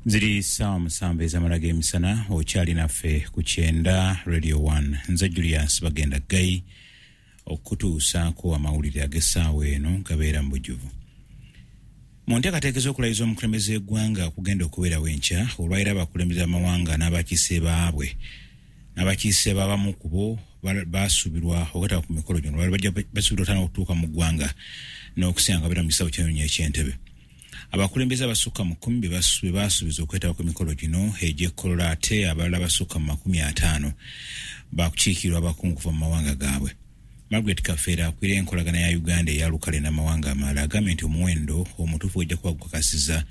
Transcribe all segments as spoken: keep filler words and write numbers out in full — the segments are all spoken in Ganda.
Ziri ssaawa musanvu ez'amala g'emisana, okyali naffe ku kyenda Radio one. Nze Julius Bagenda Gay okutuusaako amawulire ag'essaawa eno gabeera mu bujjuvu. Mu nteekateeka ez'okulayiza omukulembeze w'eggwanga okugenda okubeerawo enkya, olwaliro abakulembeze b'amawanga n'abakiise baabwe n'abakiise b'abamu ku bo basuubirwa okwetaba ku mikolo gino. Olwaliro bajja basuubirwa otandika okutuuka mu ggwanga n'okusinga nga babeera mu kisaawe ky'ennyonyi eky'Entebbe. Abakulembeze abasukka mu kkumi be basuubiza okwetaba ku mikolo gino egy'e Kololo, ate abalala abasukka mu makumi ataano bakukiikirwa abakungu kuva mu mawanga gaabwe. Margaret Kafeera akulira enkolagana ya Uganda eya lukale n'amawanga amalala agambye nti omuwendo omutuufu gujja kuba gukakasiza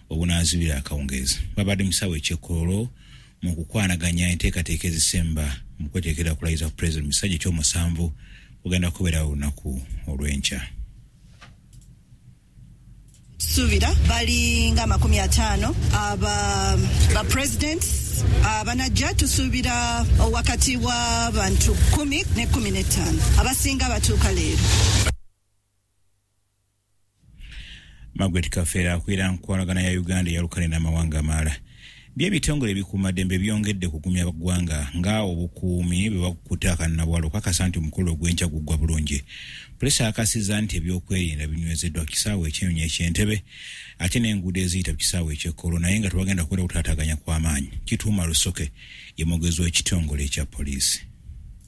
obunaazibira akawungeezi. Babadde mu kisaawe eky'e Kololo mu kukwanaganya enteekateeka ezisemba mu kweteekera okulayiza ku pulezidenti mu kisanja ekyomusanvu kugenda kubeerawo olunaku olw'enkya. Tusuubira bali nga amakumi ataano aba ba presidents abanajja. Tusuubira wakati w'abantu kumi ne kumi n'ettaano, abasinga batuuka leero. Margaret Kafeera akulira nkolagana ya Uganda eya lukale n'amawanga amalala. By'ebitongole ebikuumaddembe byongedde kugumya ggwanga nga obukuumi bwe bakutte akannabwala okukakasa nti omukolo ogw'enkya guggwa bulungi. Poliisi akakasizza nti ebyokwerinda binywezeddwa ku kisaawe eky'ennyonyi eky'Entebbe ate n'enguudo eziyita ku kisaawe eky'e Kololo, naye nga tewagenda kubeera kutaataaganya kw'amaanyi. Kituuma Lusoke ye mwogezi w'ekitongole ekya poliisi.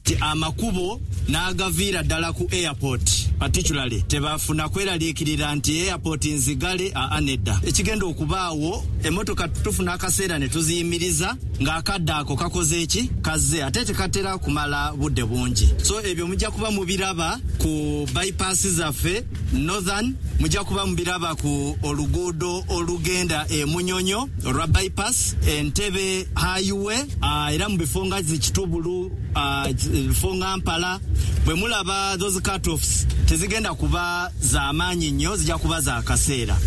Nti amakubo n'agaviira ddala ku airport particularly tebafuna kweraliikirira nti airport nzigale. Aa, nedda. Ekigenda okubaawo, emmotoka tufuna akaseera ne tuziyimiriza ng'akadde ako kakoze eki kazze, ate tekatera kumala budde bungi. So ebyo mujja kuba mubiraba ku bypass zaffe northern, mujja kuba mubiraba ku oluguudo olugenda e Munyonyo olwa bypass, Entebbe highway, uh, era mu bifo nga zikitubulu, uh, bifo nga Mpala. Bwe mulaba those cut-offs, tezigenda kuba z'amaanyi nnyo, zijja kuba za kaseera.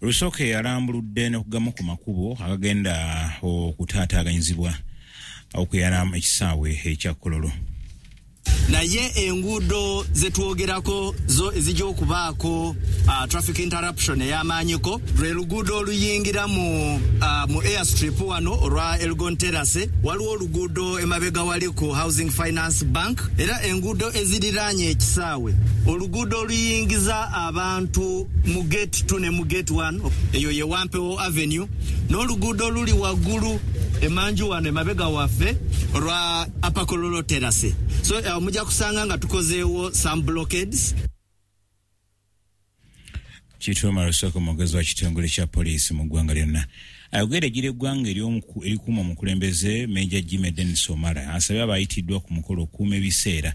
Lusooke alambuludde n'okugamu ku makubo agagenda okutaataaganyizibwa okuyala ekisaawe ekya Kololo. Naye enguudo zetwogerako zo ezijja okubaako uh, traffic interruption ey'amaanyiko lwe luguudo oluyingira mu, uh, mu airstrip wano olwa Elgon Terrace. Waliwo oluguudo emabega wali ku Housing Finance Bank, era enguudo eziriraanye ekisaawe, oluguudo oluyingiza abantu mu gate two ne mu gate one, eyo ye Wampewo Avenue, n'oluguudo oluli waggulu emanju wano emabega waffe olwa Upper Kololo Terrace. So uh, mujja kusanga nga tukozeewo some blockades. Kituuma Lusooka, omwogezi wa kitongole kya poliisi mu ggwanga lyonna. Ayogera egira eggwanga erikuuma omukulembeze, Major Jimmy Denis Omara, asabye abayitiddwa ku mukolo okukuuma ebiseera.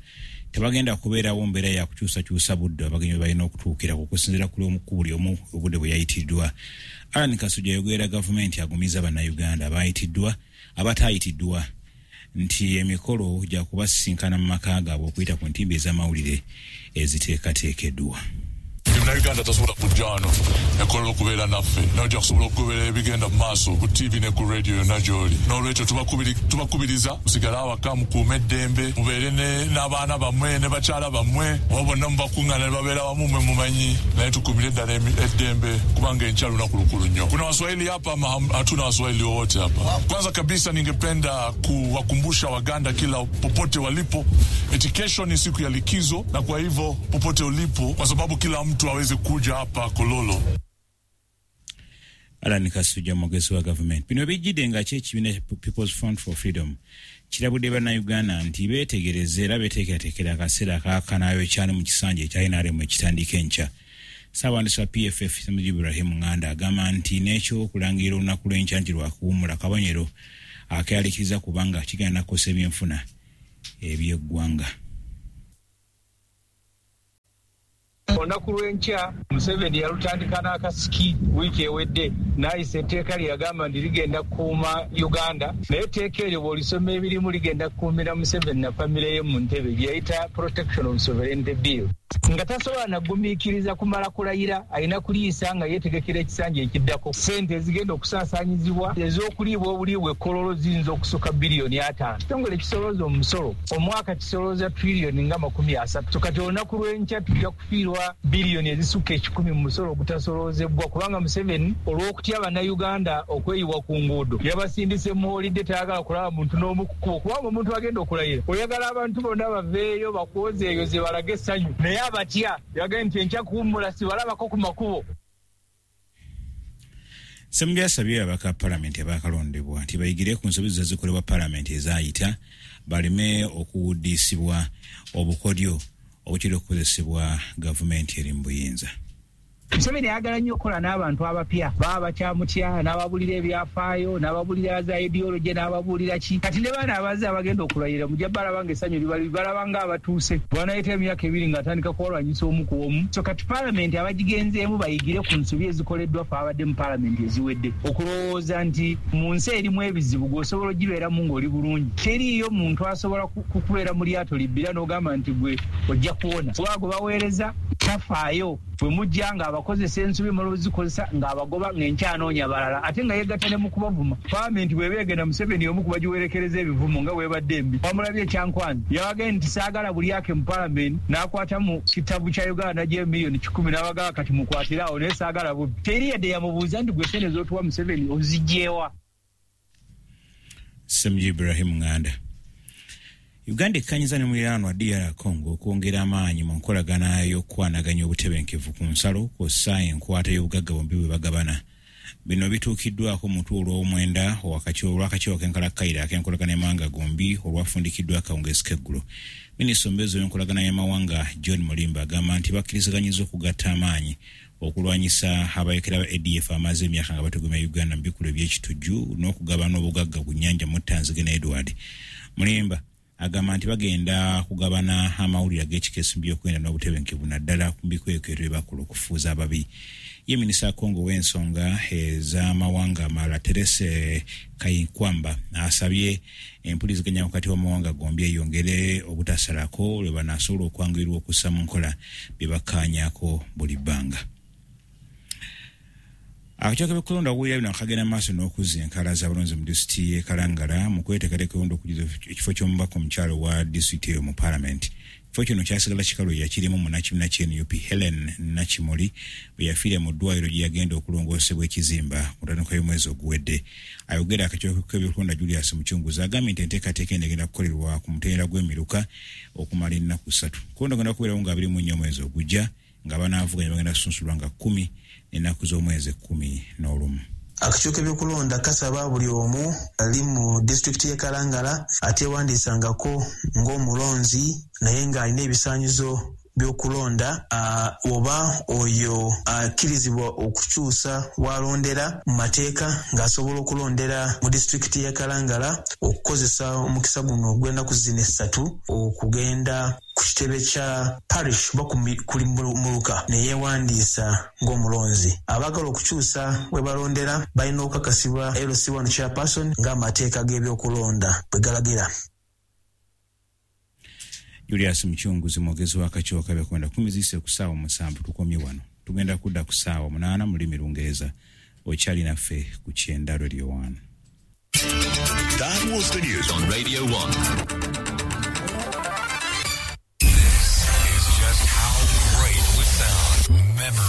Tebagenda kubeerawo mbeera ya kukyusakyusa budde abagenyi balina okutuukira okusinziira ku buli omu obudde bwe yayitiddwa. Alan Kasujja ayogerera gavumenti agumiza Bannayuganda abayitiddwa abataayitiddwa nti emikolo gya kubasisinkana mu maka gaabwe okuyita ku ntimbe ez'amawulire eziteekateekeddwa. Munnayuganda tasobola kujja wano e Kololo okubeera naffe, naye ojja kusobola okugoberera ebigenda mu maaso ku T V ne ku radio yonna gy'oli. N'olwekyo tubakubiriza musigale awaka, mukuume eddembe, mubeere n'abaana bammwe ne bakyala bammwe oba bonna mubakuŋŋaana ne babeera wamu mwe mumanyi, naye tukuumire ddala eddembe kubanga enkya lunaku lukulu nnyo. Kuna Waswahili hapa ama hatuna Waswahili wowote hapa? Kwanza kabisa ningependa kuwakumbusha Waganda kila popote walipo eti kesho ni siku ya likizo, na kwa hivyo popote ulipo, kwa sababu kila mtu aweze kuja hapa Kololo. Alan Kasujja, mwogezi wa gavumenti. Bino bijjidde nga ki ekibiina People's Front for Freedom kirabudde Bannayuganda nti beetegereze era beeteekerateekera akaseera akakanaayo ekyali mu kisanja ekya N R M ekitandika enkya. Ssaabawandiisi wa P F F Mujib Ibrahim Nganda agamba nti n'ekyokulangirira olunaku lw'enkya nti lwakuwummula kabonero akeyalikiriza kubanga kigenda kukosa ebyenfuna ebyeggwanga. Olunaku lw'enkya Museveni yalutandika n'akasiki wiiki ewedde n'ayisa etteeka lye yagamba nti ligenda kukuuma Uganda, naye etteeka eryo bw'olisoma ebirimu ligenda kukuumira Museveni na famire ye mu ntebe, gye yayita Protection of Sovereignty Bill. Nga tasobola nagumiikiriza kumala kulayira, alina kuliisa nga yeetegekera ekisanja ekiddako. Ssente ezigenda okusaasaanyizibwa ez'okuliibwa obuliibwa ekkololo ziyinza okusukka biliyoni ataano. Ekitongole kisolooza omusolo omwaka kisolooza triliyoni nga makumi asatu. Kati olunaku lw'enkya tujja kufiirwa biliyoni ezisukka ekikumi mu musolo ogutasoloozebwa, kubanga Museveni olw'okutya Bannayuganda okweyiwa ku nguudo yabasindise mu holidde, tayagala kulaba muntu n'omu ku kkubo, kubanga omuntu agenda okulayira oyagala abantu bonna baveeyo bakwozeeyoze balage essanyu, naye abatya yagambye nti enkya kuwummula sibalabako ku makubo. Ssemujju asabye ababaka palamenti abaakalondebwa nti bayigire ku nsobi ezikolebwa palamenti ezaayita baleme okuwuddisibwa obukodyo obukira okukozesebwa gavumenti eri mu buyinza. Museveni ayagala nnyo okukola n'abantu abapya, baba bakyamutya, n'ababulira ebyafaayo, n'ababulira za ideology, n'ababuulira ki. Kati ne baana abazze abagenda okulayira mujja balaba ng'essanyu libali, balaba ng'abatuuse. Bw'anaayita emyaka ebiri ng'atandika kubalwanyisa omu ku omu. So kati palamenti abagigenzeemu bayigire ku nsobi ezikoleddwa ffe abadde mu palamenti eziwedde. Okulowooza nti mu nsi erimu ebizibu gw'osobola ogibeeramu ng'oli bulungi. Teriiyo muntu asobola kukubeera mu lyato libbira n'ogamba nti gwe ojja kuwona. Kuba gwe baweereza tafaayo. Bwe mujja ng'abakozesa ensobi muzikozesa ng'abagoba ng'enkyanoonya balala, ate nga yeegatta ne mu kubavuma. Palamenti bw'eba egenda Museveni omu ku bagiwerekereza ebivumo nga bw'ebadde embi. Wamulabye ekyankwanzi yabagambye nti saagala bulyake mu palamenti, n'akwata mu kitabu kya Uganda n'aggyayo miliyoni kikumi n'abagamba kati mukwatire awo, naye saagala bubbi. Teri yadde yamubuuza nti gwe ssente z'otuwa Museveni oziggyewa. Ssemujju Ibrahim Nganda. Uganda ekkanyiza ne muliraanwa D R Congo okwongera amaanyi mu nkolagana y'okukwanaganya obutebenkevu ku nsalo kw'ossa enkwata y'obugagga bombi bwe bagabana. Bino bituukiddwako mu lutuula olw'omwenda olw'akakiiko k'enkalakkalira ak'enkolagana y'amawanga gombi olwafundikiddwa akawungeezi k'eggulo. Minisita omubeezi w'enkolagana y'amawanga John Mulimba agamba nti bakkiriziganyizza okugatta amaanyi okulwanyisa abayekera ba A D F amaze emyaka nga batugumya Uganda mu bikolwa eby'ekitujju n'okugabana obugagga ku nnyanja Muttanzige ne Edward. Mulimba agamba nti bagenda kugabana amawulire ag'ekikeesi mu by'okwenda n'obutebenkevu naddala ku bikwekweto bye bakola okufuuza ababi. Ye minisita wa Congo w'ensonga ez'amawanga amalala Therese Kayikwamba asabye empuliziganya wakati w'amawanga gombi eyongere obutasalako lwe banaasobola okwanguyirwa okussa mu nkola bye bakkaanyaako buli bbanga. Akakiiko k'ebyokulonda okuwulira bino akagenda maaso n'okuzza enkala z'abalonzi mu disitulikiti y'e Kalangala mu kweteekateeka okujuza ekifo ky'omubaka omukyala wa disitulikiti eyo mu paalamenti. Ekifo kino kyasigala kikalu yakirimu munnakibiina kya N U P Helen Nakimuli bwe yafiira mu ddwaliro gye yagenda okulongoosebwa ekizimba ku ntandikwa y'omwezi oguwedde. Ayogera akakiiko k'ebyokulonda Julius Muchunguzi agambye nti enteekateeka eno egenda kukolerwa ku mutendera gw'emiruka okumala ennaku ssatu. Kulonda kugenda kubeerawo nga abiri mu nnya omwezi ogujja nga banaavuganya bagenda kusunsulwa nga kkumi n'ennaku z'omwezi ekkumi n'olumu. Akakiiko k'ebyokulonda kasaba buli omu ali mu disitulikiti y'e Kalangala ateewandiisangako ng'omulonzi naye ng'alina ebisaanyizo by'okulonda oba oyo akkirizibwa okukyusa w'alondera mu mateeka ng'asobola okulondera mu disitulikiti y'e Kalangala okukozesa omukisa guno ogw'ennaku zino essatu okugenda ku kitebe kya parish oba ku muluka ne yeewandiisa ng'omulonzi. Abaagala okukyusa we balondera balina okukakasibwa L C one chairperson ng'amateeka g'ebyokulonda bwe galagira. Julius Muchunguzi mwogezi w'akakiiko k'ebyokulonda. Kumi ziyise ku ssaawa musanvu tukomye wano. Tugenda kudda ku ssaawa munaana mu lulimi Lungereza. Okyali naffe ku Kyenda Radio one. That was the news on Radio one. This is just how great would sound. Memory.